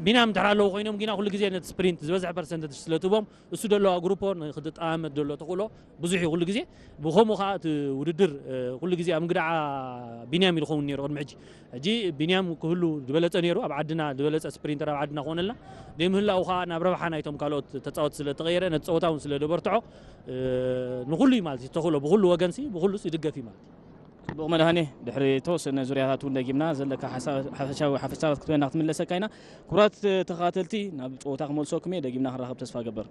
ቢንያም ድሕር ኣለዉ ኮይኖም ግና ኩሉ ግዜ ነቲ ስፕሪንት ዝበዝሐ ፐርሰንት ስለ ትቦም እሱ ደለዋ ግሩፖ ንክትጠማመት ደሎ ተኽእሎ ብዙሕ እዩ። ኩሉ ግዜ ብኸምኡ ከዓ እቲ ውድድር ኩሉ ግዜ ኣብ ምግዳዓ ቢንያም እዩ ዝኸውን ነይሩ ቅድሚ ሕጂ። ሕጂ ቢንያም ክህሉ ዝበለፀ ነይሩ፣ ኣብ ዓድና ዝበለፀ ስፕሪንተር ኣብ ዓድና ክኾነልና ደይ ምህላው ከዓ ናብ ረብሓ ናይቶም ካልኦት ተፃወት ስለ ተቐየረ ነቲ ፀወታ እውን ስለ ደበርትዖ ንኩሉ እዩ ማለት እዩ ተኽእሎ ብኩሉ ወገንሲ ብኩሉ ይድገፍ እዩ ማለት እዩ። ጽቡቕ መድሃኔ፣ ድሕሪ ተወሰነ ዙርያታት እውን ደጊምና ዘለካ ሓፈሻዊ ሓፈሳባት ክትበና ክትምለሰካ ኢና። ክቡራት ተኸታተልቲ ናብ ፀወታ ክመልሰኩም እየ፣ ደጊምና ክንራኸብ ተስፋ ገበር።